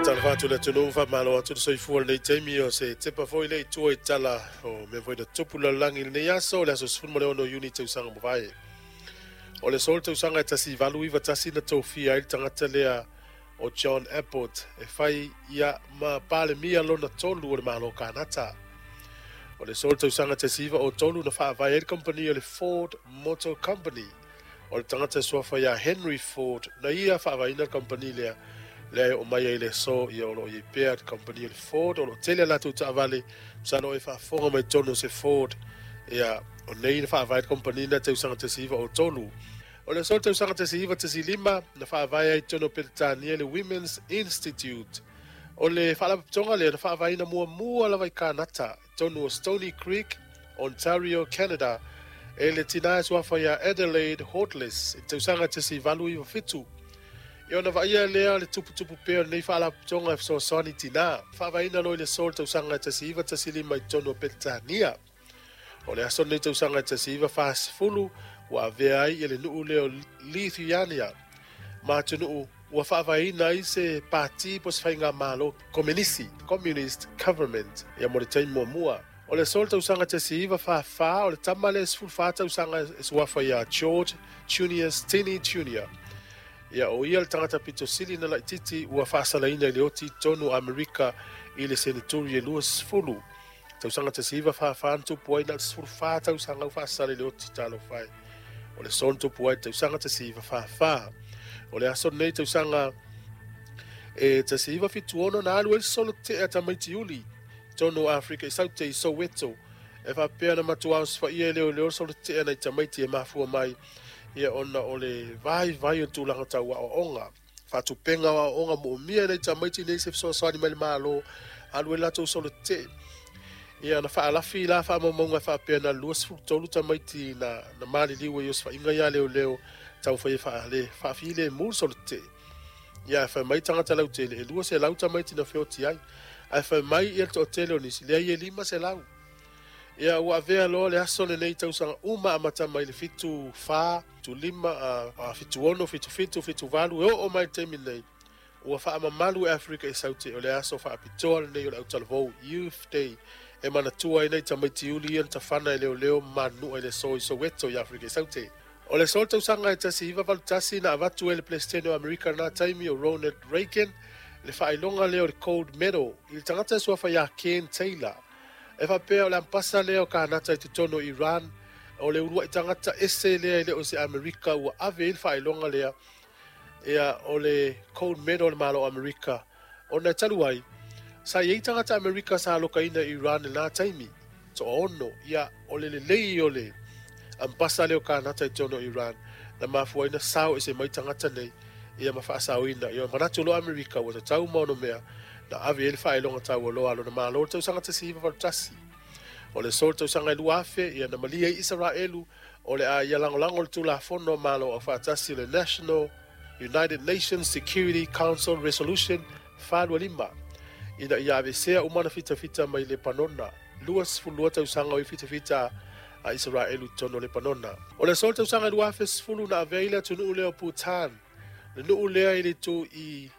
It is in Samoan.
Faatalofa atu le atunuu, faamalo atu le soifua i lenei taimi o se tepa foi le i tua i tala o mea foi na tupu lalolagi i lenei aso, le aso 16 o Iuni tausaga mavae. O le aso le tausaga e 1891 na tofia ai le tagata lea o John Abbott e fai ia ma Palemia lona tolu o le Malo Kanata. O le aso le tausaga 1903 na faavae ai le kamupani o le Ford Motor Company. O le tagata e suafa ia Henry Ford na ia faavaeina le kamupani lea, lea e oo mai ai i le aso ia o lo o i ai pea le kamupani o le Ford. O lo o tele a latou taavale, masalo e faafofoga mai totonu o se Ford, ia o nei na faavae le kamupani na tausaga 1903. O le aso le tausaga 1915 na faavae ai totonu o Peretania le Women's Institute. O le faalapotopotoga lea na faavaeina muamua lava i Kanata, totonu o Stoney Creek, Ontario, Canada, e le tina e suafa ia Adelaide Hortless i le tausaga 1897. Ia ona vaaia lea le tuputupu pea o lenei faalapotopotoga e fesoasoani i tina. Faavaeina loa i le aso le tausaga 1915 i totonu o Peretania. O le aso lenei tausaga 1940 ua avea ai le nuu lea o Lithuania ma atunuu ua faavaeina ai se pati po o se faigamalo komenisi, Communist Government, ia mo le taimi muamua. O le aso le tausaga 1944, o le tama lea e 14 tausaga e suafa ia George Junius Stinney Jr. Ia o ia le tagata pito sili na laititi ua faasalaina i le oti i totonu o Amerika i le seneturi e 20. Tausaga 1944 na tupu ai na o le 14 tausaga ua faasala i le oti talofa e. O le aso na tupu ai tausaga 1944. O le aso lenei tausaga e 1976 na alu ai le solo tetee a tamaiti uli totonu o Afrika i Saute i Soweto e faapea na matua osofai'a e leoleo le solo tetee a nai tamaiti e mafua mai ia ona o le vaivai o le tulaga tau aoaoga. Faatupega o aoaoga moomia e nai tamaiti nei se fesoasoani mai le Malo alu ai latou solo tetee. Ia na faalafi la faamaumauga e faapea na 23 tamaiti na maliliu ai i osofaiga ia leoleo taumafai e faale faafilemu le solo tetee. Ia ae fai mai tagata lautele e 200 tamaiti na feoti ai. Ae fai mai ia le toatele o nisi, leai e 500. Ia ua avea loa le aso lenei tausaga uma amata mai le 74, 75, 76, 77, 78 e oo mai i le taimi lenei. Ua faamamalu e Afrika i Saute o le aso faapitoa lenei o le autalavou, Youth Day, e manatua ai nai tamaiti uli ia na tafana e leoleo ma manunua i le aso i Soweto i Afrika i Saute. O le aso le tausaga e 1981 na avatu ai e le Peresetene o Amerika i lena taimi o Ronald Reagan le faailoga lea o le Gold Medal i le tagata e suafa ia Ken Taylor. E faapea o le ampasa lea o Kanata i totonu o Iran, o le uluai tagata ese lea e le o se Amerika ua ave i ai le faailoga lea, ia o le Gold Medal o le Malo o Amerika. Ona e talu ai, sa i ai tagata Amerika sa alokaina i Iran i lena taimi, toaono, ia o le lelei o le ampasa lea o Kanata i totonu o Iran, na mafua ai na sao ese mai tagata nei, ia ma faasaoina. Ia manatu loa Amerika ua tatau ma ono mea na ave i ai le faailoga taualoa a lona Malo i le tausaga 1981. O le aso o le tausaga e 2000, ia na malie ai Isaraelu o le a ia lagolago le Tulafono a Malo Aufaatasi o le National United Nations Security Council Resolution 425 ina ia aveesea uma ana fitafita mai Lepanona. 22 tausaga o i fitafita a Isaraelu i totonu o Lepanona. O le aso o le tausaga e 2010 na avea ai le atunuu lea o Bhutan, le nuu lea i le itu i